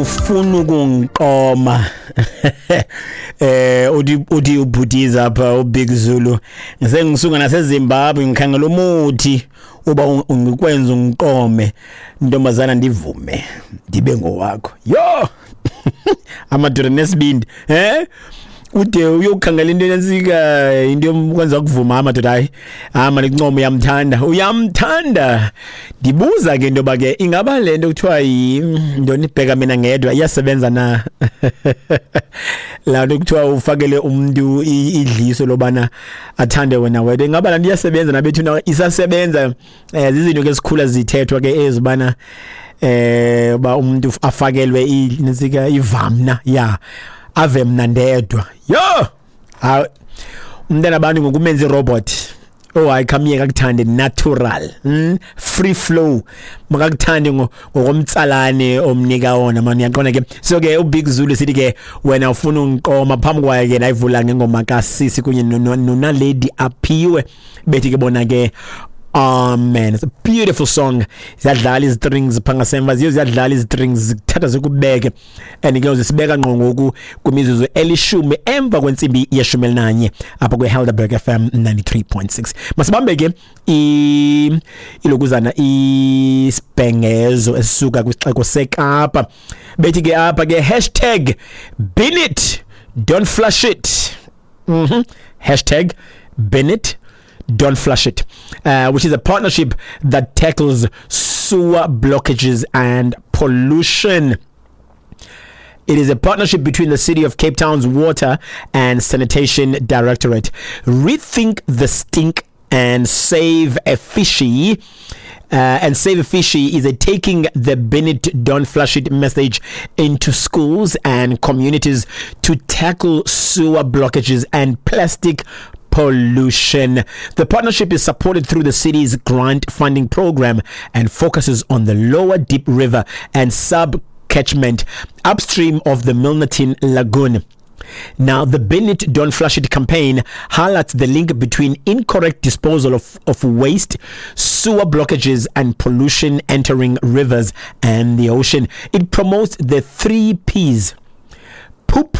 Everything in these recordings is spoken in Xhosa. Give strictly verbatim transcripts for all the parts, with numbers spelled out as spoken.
Ufuna ukungiqoma eh uthi uthi ubhutiza apha uBig Zulu, ngisengisuka naseZimbabwe, ngikhangela umuthi uba ungikwenza ungiqome, ntombazana, ndivume ndibe ngowakho. Yo, amadoda nesibindi, eh ude uyokhangela into enensika, into yokwenza kuvuma amadoda. Hayi, hama lincoma, uyamthanda, uyamthanda. Ndibuza ke into yoba ke ingaba le nto kuthiwa yintoni, ibheka mina ngedwa, iyasebenza na laa nto kuthiwa ufakele umntu idliso lobana athande wena wedwa? Ingaba laa nto iyasebenza nabethu? Isasebenza? um zizinto ke esikhula zithethwa ke ezibana eh uba umuntu afakelwe inensika, ivamna ya ave mna ndedwa. Yo, hayi, umntana abantu ngokumenza irobot. Oh hayi, khamiyeka akuthande natural, mm? Free flow, makakuthande ngokomtsalane omnika wona mani, uyaqonda ke. So ke uBig Zulu sithi ke wena ufuna ungiqoma. Phambi kwaye ke nayivula ngengoma kaSisi kunye noNaledi Aphiwe, bethi ke bona ke "Amen". It's a beautiful song. Ziyadlala izistrings pha ngasemva, ziyo ziyadlala izistrings, zikuthatha zikubeke and ke zisibeka ngqo ngoku kwimizuzu elishumi emva kwentsimbi yeshumi elinanye apha kwe-Helderberg F M ninety-three point six. Masibambe ke ilokuzana isibhengezo esisuka kwisixeko seKapa. Bethi ke apha ke hashtag bin it don't flush it. mhm hashtag bin it don't flush it, uh, which is a partnership that tackles sewer blockages and pollution. It is a partnership between the City of Cape Town's Water and Sanitation Directorate, Rethink the Stink and Save a Fishy. Uh, and Save a Fishy is a taking the "bin it, don't flush it" message into schools and communities to tackle sewer blockages and plastic pollution. The partnership is supported through the city's grant funding program and focuses on the lower Deep River and sub catchment upstream of the Milnerton Lagoon. Now, the "Bin It, Don't Flush It" campaign highlights the link between incorrect disposal of, of waste, sewer blockages, and pollution entering rivers and the ocean. It promotes the three P's: poop,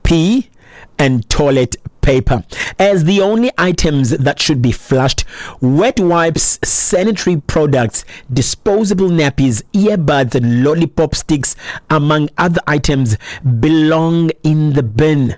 pee, and toilet paper as the only items that should be flushed. Wet wipes, sanitary products, disposable nappies, earbuds, and lollipop sticks, among other items, belong in the bin.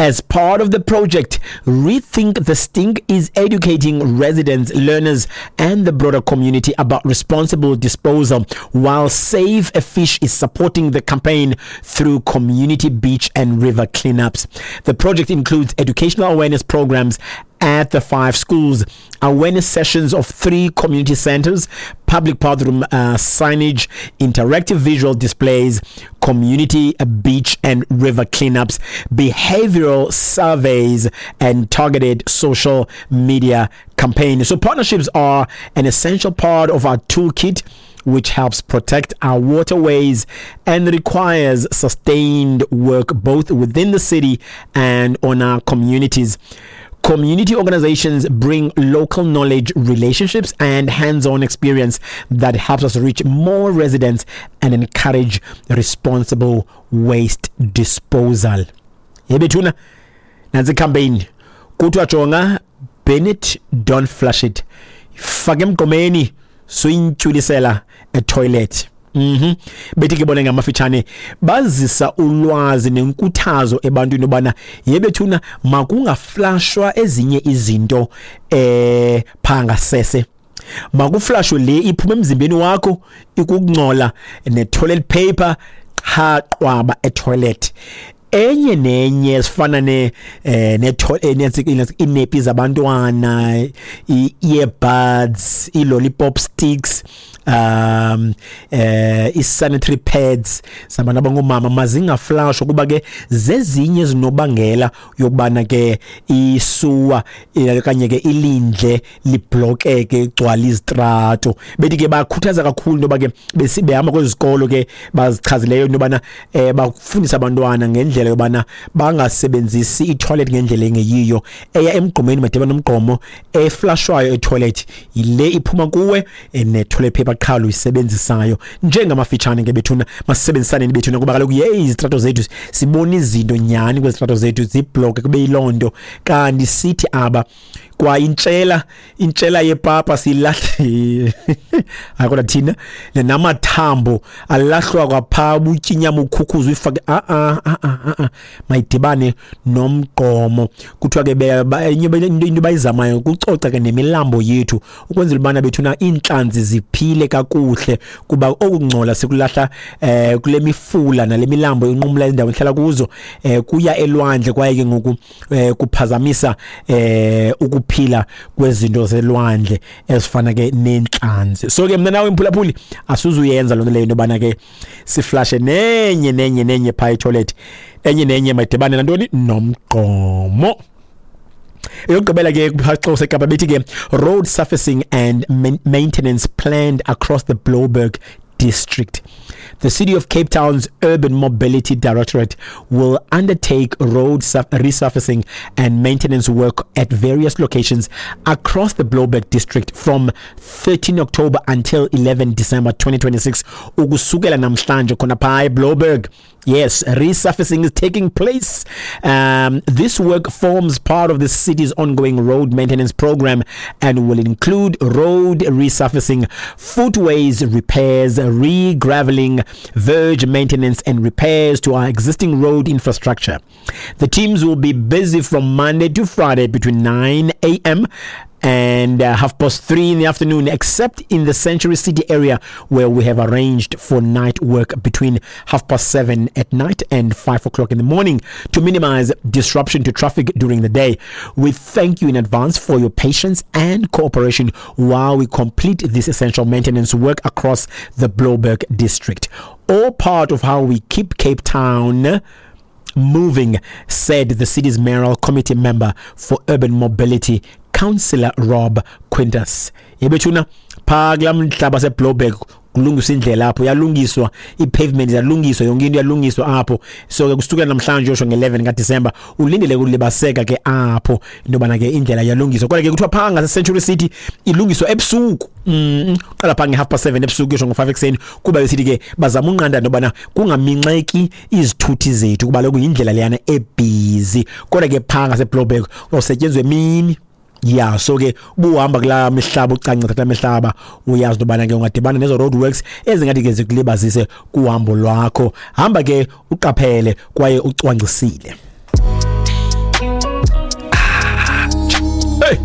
As part of the project, Rethink the Stink is educating residents, learners, and the broader community about responsible disposal, while Save a Fish is supporting the campaign through community beach and river cleanups. The project includes educational awareness programs at the five schools, awareness sessions of three community centers, public bathroom uh, signage, interactive visual displays, community uh, beach and river cleanups, behavioral surveys, and targeted social media campaigns. So, partnerships are an essential part of our toolkit which helps protect our waterways and requires sustained work both within the city and on our communities. Community organizations bring local knowledge, relationships, and hands on experience that helps us reach more residents and encourage responsible waste disposal. Yebethuna, nansi campaign. Kuthiwa jonga, bin it, don't flush it. Fake emgqomeni, suyintyulisela etoilet. Mhm. Bethi ke bona ngamafitshane bazisa ulwazi nenkuthazo ebantwini ubana yebethuna makungaflashwa ezinye izinto eh pha ngasese, makuflashwe le iphuma emzimbeni wakho ikukungcola ne-toilet paper qha, qwaba etoilet. Enye nenye esifana ne eh ne inepi zabantwana, i-earbuds, i-lollipop sticks, um eh i-sanitary pads zabantu abangomama mazingaflashwa kuba ke zezinye ezinobangela yokubana ke isuwa okanye ke ilindle liblokeke, igcwala izitrato. Bethi ke bakhuthaza kakhulu into yoba ke behamba kwezi zikolo ke bazichazileyo into yobana eh bafundisa abantwana ngendlela. indlela yobana bangasebenzisi i-toilet ngendlela engeyiyo. Eya emgqomeni madibane nomgqomo, eflashwayo e-toilet yile iphuma kuwe ne-toilet paper qha uyisebenzisayo. Njengamafitshane ke bethuna, masisebenzisaneni bethuna, kuba kaloku yeyi izitrato zethu sibona izinto nyhani kwezitrato zethu zibloke kube yiloo nto. Kanti sithi aba kwa intshela intshela yepapa silahle, hayi kodwa thina namathambo alahlwa kwapha, ubutyinyama ukhukhuza uyifake, a a a a mayidibane nomgqomo. Kuthiwa ke enye into bayizamayo kucoca ke nemilambo yethu ukwenzela ubana bethuna iintlanzi ziphile kakuhle, kuba okungcola sikulahla eh kule mifula nale milambo inqumla indawo ehlala kuzo eh kuya elwandle, kwaye ke ngoku eh, kuphazamisa eh ukuphila kwezinto zelwandle ezifana ke nentlanzi. So ke mna nawe mphulaphuli asuzuyenza loo nto leyo, into yobana ke siflashe nenye nenye nenye phaa etoilet, enye nenye mayidibane nantoni nomgqomo. Eyokugqibela ke kuphaxo seKapa bethi ke road surfacing and maintenance planned across the Blouberg district. The City of Cape Town's Urban Mobility Directorate will undertake road resurfacing and maintenance work at various locations across the Blouberg district from thirteenth October until eleventh December twenty twenty-six. Ukusukela namhlanje khona phaa eBlouberg. Yes, resurfacing is taking place. Um, this work forms part of the city's ongoing road maintenance program and will include road resurfacing, footways repairs, re-graveling, verge maintenance and repairs to our existing road infrastructure. The teams will be busy from Monday to Friday between nine a.m. and uh, half past three in the afternoon, except in the Century City area where we have arranged for night work between half past seven at night and five o'clock in the morning to minimize disruption to traffic during the day. We thank you in advance for your patience and cooperation while we complete this essential maintenance work across the Blouberg district. All part of how we keep Cape Town moving, said the city's mayoral committee member for urban mobility, Councillor Rob Quintas. Yebethuna pha kula mhlaba seBlouberg kulungiswa indlela apho, yalungiswa i-pavement, yalungiswa yonke into, yalungiswa apho. So ke kusukela namhlanje yosho nge-eleven kaDisemba ulindele kulibaseka ke apho into yobana ke indlela yalungiswa. Kodwa ke kuthiwa phaa ngase-Century City ilungiswa ebusuku, mm qala phaa nge-half past seven ebusuku yosho ngo-five ekuseni, kuba besithi ke bazama unqanda into yobana kungaminxeki izithuthi zethu, kuba lokhu yindlela leyana ebhizi. Kodwa ke phaa ngaseBlouberg kusetyenzwe emini. Yeah, so ke ubuhamba kula mihlaba ucancitha kula mihlaba uyazi into yobana ke ungadibana nezo road works ezingathi ke zikulibazise kuhambo lwakho. Hamba ke uqaphele kwaye ucwangcisile. Hey,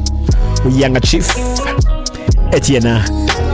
uYanga Chief ethi yena